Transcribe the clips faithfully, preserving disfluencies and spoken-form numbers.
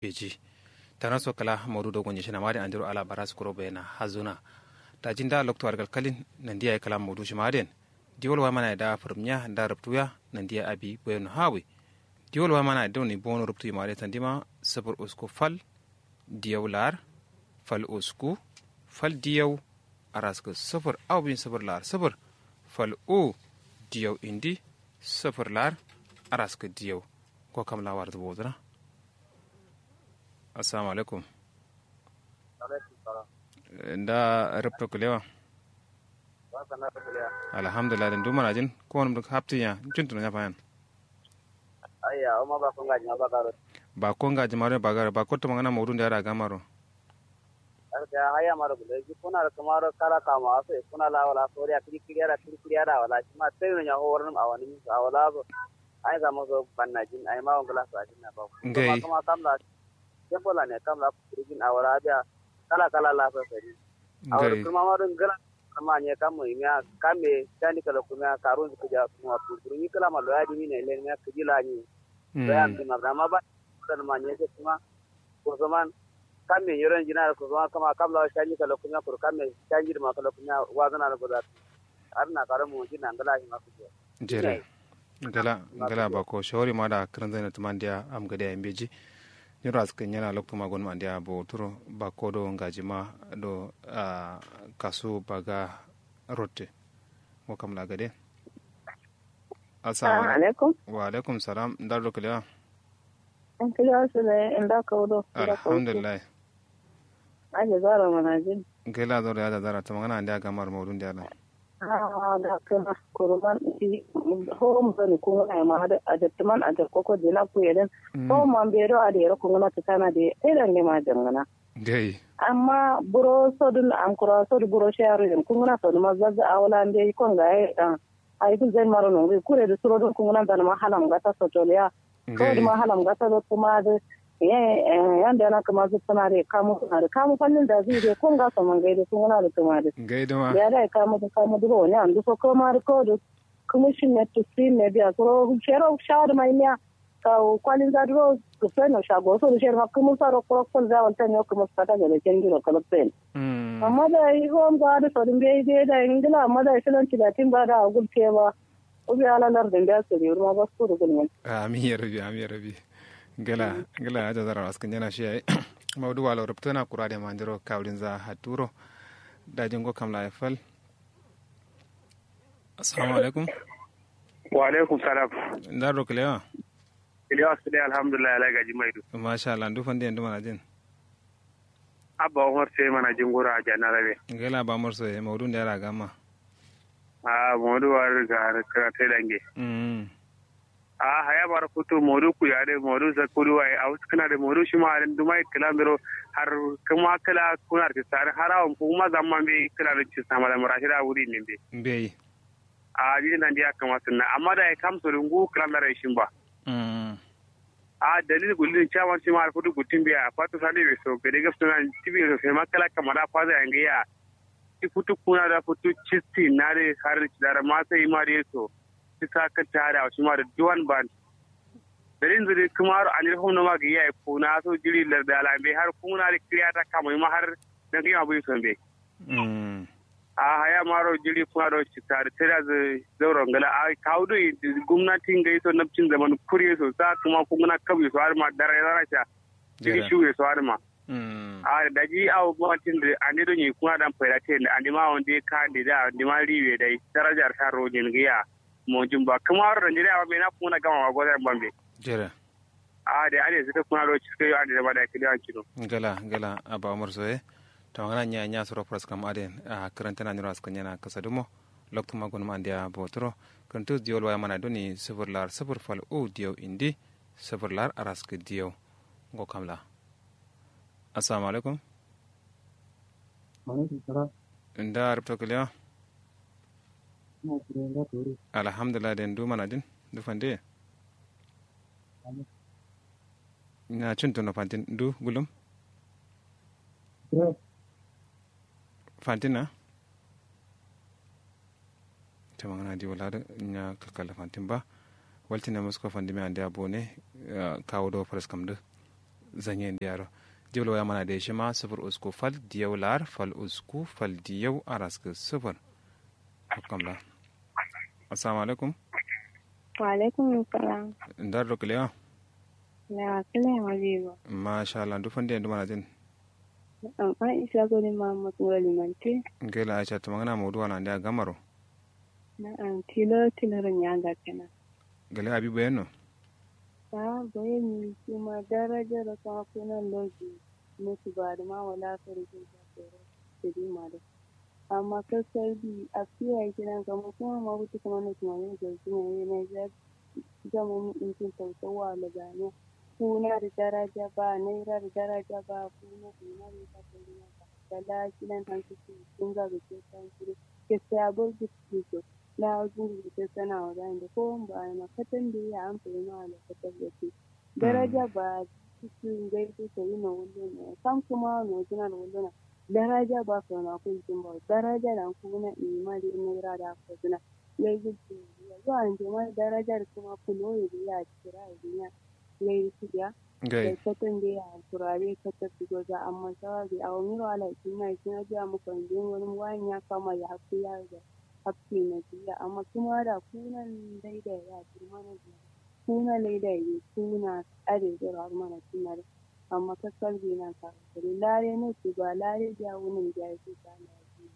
Beji. Tana so kla maudu do gonye shina made andiro ala bara su kuro bayana hazuna. Daji nda loktu argal kalin nandi yayi kla maudu shima aden. Diwol wa mana da furmiya da rubtuya nandi ya abi bayano hawi. Diwol wa mana da ni bono rubtu imade sandima sifir usku fal diyaw lar fal usku fal diyaw araska sifir au bin sifir lar sifir fal u diyaw indi sifir lar araska diyaw. Ko kam lawar zubo zuna. Assalamu alaikum. Nda rubto kulewa. Alhamdulillah din duma najin ko wani haptin ya. Cin tuna ya fayan. Ayya uma ba konga jima ba garo. Ba konga jima ba garo ba kotto mangana maudu nda yara gamaro. Arka haya maro gulo ji kuna da kamaro kala kama aso kuna la wala soriya kiri kiri yara kiri kiri yara wala shi ma sai no nya horin awani awala zo. Ai zama zo banna jin ai ma wangala sa jin na ba. Ngai. Kuma kamla. Kembola ne kamla kurigin awara biya kala kala la sa sari. Awara. Kuma ma dun gala. Amma ne kam mo imiya kamme tani kala kuma karun su kuja kuma kurun ni kala ma loya dimi ne le ne kujila ni. Loya mi ma ma ba. Kan ma ne kuma. Kusuman kamme yoron jina kusuman kama kamla shanji kala kuma kur kamme shanji ma kala kuma wazana na goda. Arna karamu jina ngala shi ma kuja. Jere. Ngala ngala bako shawari ma da kirin zai na tuman diya am gade ya mbeji. Nyiro askin yana loktu ma gonum andiya bo turo bako do ngaji ma do. Kasu baga rotte. Mo kam la gade. Assalamu alaikum. Wa alaikum salam ndar do kilewa. Kilewa sule inda kaudo. Alhamdulillah. Aje zara manajin. Gela zoro ya da zara tamangana andiya gamar maudun diya lan. A'a da kǝna kuruman. Howom doni kungǝna ye ma adǝ ajatǝman ajakkoko dina kuye dǝn. Howom ma mbedo adǝ yero kungǝna tǝtana dǝ ye taidande ma jangǝna. Amma buro sodǝn amkura sodǝ buro shiyaro yen kungǝna sodǝ ma zazzǝ awo la mbeyi konga ye. Ayi gulzain maro nongoyi kure dǝ suro dǝn kungǝna nzanǝ ma halam gata sotoliya. Kawai dǝ ma halam gata dǝ kǝma dǝ. Yande yana kǝma zǝ tǝna dǝ kamu tǝna dǝ kamu fallin da zǝ dǝ konga so mangai dǝ kungǝna dǝ kǝma dǝ. Ngai dǝ ma. Biya dai kamu dǝ kamu dǝ ro ne andu so kǝma dǝ kawai dǝ. Kǝmǝ shin ne tusi ne biya suro shero sha dǝ ma imiya. Kawu kwalin za dǝ ro. Kǝfai no sha go so dǝ sher ma kǝmǝ sa ro kuro kǝfal za walta ne kǝmǝ sa ta gade ken dǝ ro kalaksain. Amma dai hom za dǝ so dǝ mbeyi dai dai ngǝla amma dai filan tilatin ba da agul te ba. Ubi ala lardin da suri wurma baskuru gulmin. Amin ya rabi amin ya rabi. Gala gala aja zara waskǝn jana shi yayi. Maudu walo rubtuna kura de mandiro kawdin za haturo. Dajin go kamla ya fal. Assalamu alaikum. Wa alaikum salam. Ndar do kilewa. Kilewa sule alhamdulillah ala gaji maidu. Masha Allah ndu fande ndu manajin. Abba umar sai manajin gura a janarabe. Gala ba umar sai maudu nda yara gama. Ahh modu wari ga kǝra taidange. Ahh haya maro futu modu kuyi adǝ modu zakkudu waye awo sǝkkǝna dǝ modu shima adǝ nduma ye kǝla nduro. Har kǝma kǝla kuna dǝ sare har awon kuma zamma mbeyi kǝla dǝ cissa mala murashida wuri nin mbeyi. Mbeyi. Ahh jiri nandi ya kǝma sǝnna amma dayi kam sodu ngu kǝla ndaro ye shimba. Ahh dalil gullin chairman shima adǝ futu guttin beya fatu sande be so gade gabsǝna tibe so sai ma kǝla kǝma da faza yange ya. Ti futu kuna da futu cisti na dǝ har dara ma sai ma dǝ ye so. Ti sa kǝtta dǝ awo shima dǝ duwan ban. Dalil nzǝ dǝ kǝmaro anil hum noma gǝyi yayi kuna so jiri larda ala mbeyi har kuna dǝ kǝriya ta kamo yima har. Nangǝ yima buyi so mbeyi. Ahh haya maro jiri kuna do citta dǝ taida dǝ zauro ngǝla ahh kawu doi. Gumnati ngai so napcin zaman kuri ye so sa kǝma kungǝna kab ye so adǝ ma dara ye dara sha. Jiri shiwu ye so adǝ ma. Ahh daji awo matin dǝ ande do nyi kuna dan faida ten dǝ ande ma wande kande da ande ma riwe dai daraja dǝ sha ro nyen gǝya. Monjin ba kǝma wuro nanderiya ma mena kungǝna gama ma goza yen bambe. Jere. Ahh dai ade sǝ kǝ kuna do ciskǝ yo ande dama dai kǝliya wanci do. Ngala ngala abba umar soye. Tamangana nya nya suro faraskam aden ahh kǝrantǝna nyiro askǝ nyena kǝsa dǝmo. Loktu ma gonum andeya boturo. Kǝrantǝ diyo luwa yamana doni sǝfur lar sǝfur fal u diyo indi. Sǝfur lar araskǝ diyo. Ngo kamla. Assalamu alaikum. Nda rubto kǝlewa. Alhamdulillah dai ndu manajin ndu fande. Nya cuntuno fantin ndu gulum. Fantin na. Tamangana di wala dǝ nya kǝkkalla fantin ba. Waltine musko fandimiya andeya bone. Kawu do faraskam dǝ. Zanyen diyaro. Diwol waya mana de shima sufur usku fal diyau lar fal usku fal diyau araskǝ sufur. Kam la. Assalamu alaikum. Wa alaikum salam. Ndar do kiliya? Na kile ma bibo. Masha Allah, ndu fande ndu mana jin? Amma isa goni ma mutun wali manti. Ngela aisha tumangana maudu wana ndia gamaro. Na'am, tilo tilo ro nyanga kena. Gale abi boyenno? Aa boyeni shima daraja ro kama kuna loji. Mutu ba adǝ ma wala kari jin ba soro. Sadi ma dǝ. Amma kakkar di afiya ye kidan kama kuma ma kutu kuma na kuma ye gajina ye na ja. Zaman intin sausau wa laganya. Kuna dǝ daraja ba naira dǝ daraja ba kuna dǝ naira dǝ daraja ba. Kala kidan hantu kinga gǝ ke san kuru. Kese abor gǝ. Lawo jingǝ gǝ ke sana wa gande ko mba ana katan de ya amfani ma ala katan de ke. Daraja ba cikin gai su sayi na wulluna. Kam kuma wa mai suna da wulluna. Daraja ba sau na kun jin ba daraja da kuma na ima da ina ira da aka suna. Gai su ce yo an jima daraja da kuma kulo ya biya kira ya biya. Gai su ya. Gai. Gai katan da ya turare katan su goza amma sawa gai a wani ro ala ikin na ikin ajiya muka yin wani wani ya kama ya haku ya ga. Haku na jiya amma kuma da kunan daidai ya girma na jiya. Kuna laida ye kuna ade zoro har mana tunare. Amma kakkal be nan ka kare lare no tuba lare biya wunin biya ye tuba na ji.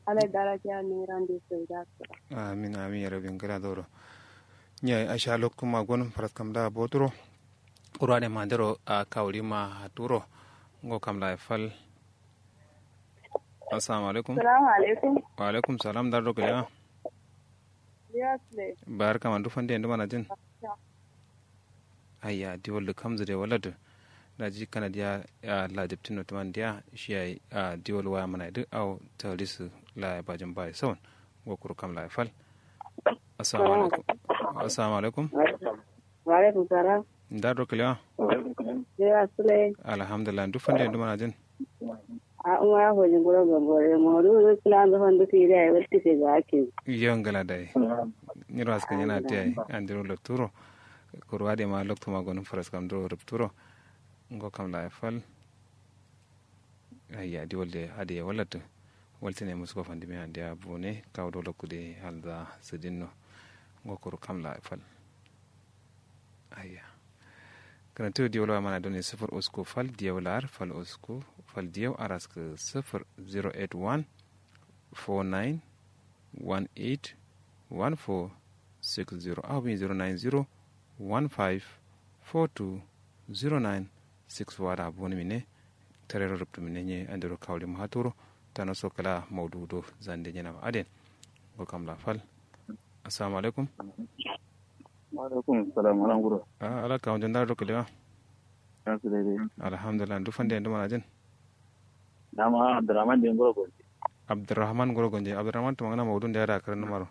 Ala daraja ne ran de sai da ka. Amin amin ya rabin gala zoro. Nya asha lokuma gon faras kam da boturo. Kurwa ne mandero a kawri ma haturo. Ngo kam la fal. Assalamu alaikum. Salamu alaikum. Wa alaikum salam dar do kalewa. Yes le. Bayar kama ndu fande ndu mana jin. Ayya diwal dǝ kamzǝ dǝ wala dǝ. Daji kana diya. Lajabtin no tǝman diya shi yayi diwal waya mana dǝ au talisǝ. Laya bajin bayi sawan. Ngo kuru kam laya fal. Assalamu alaikum. Assalamu alaikum. Wa alaikum salam. Ndar do kalewa. Alhamdulillah ndu fande ndu mana jin. A umara fojin guro gambore modu du kǝla ndu fandu kǝyi dai walti fe ga akin. Yo ngala dai. Nyiro askǝ nyina dai andiro lokturo. Kuru ade ma loktu ma gonum faras kam duro rupturo. Ngo kam la fal. Ayya diwal de ade walatu. Waltine musko fandimi andiya bune kawo do lokku de halda sidinno. Ngo kuru kam la fal. Ayya. Kǝrantǝ diyau lawa mana done sǝfǝr usku fal diyau lar fal usku fal diyau araskǝ sǝfǝr. Zero eight one four nine one eight one four six zero aw bin zero nine zero one five four two zero nine six four ada boni mine. Tarero ruptu mine nye andiro kawli mahaturo. Tano so kala maudu do zande nyena aden. Ngo kam la fal. Assalamu alaikum. Wa alaikum salam ala nguro. Ala kawun jandar do kalewa. Alhamdulillah ndu fande ndu mana jin. Dama abdurrahman de nguro gonje. Abdurrahman nguro gonje abdurrahman tuma ngana maudun da yada karin numaro.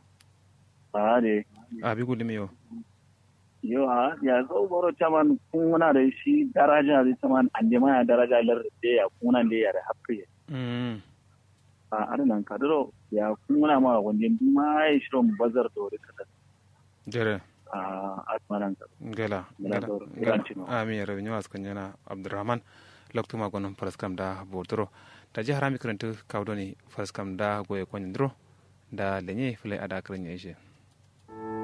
Ade. Abi gulimi yo. Yo a ya zo boro chaman kunguna da shi daraja da chaman ande ma ya daraja lar da ya kunguna da ya da hakkı ya. Mm. A ada nan kaduro ya kunguna ma gonje duma ya shiro bazar to da kasa. Jere. Ngela ngela. Ami yero nyuwa askanyana abdurrahman. Loktu ma gonum faraskam da boturo. Daji harami kǝrantǝ kawdoni faraskam da goye konyandiro. Da lenye fǝlai ada kǝranye ishe.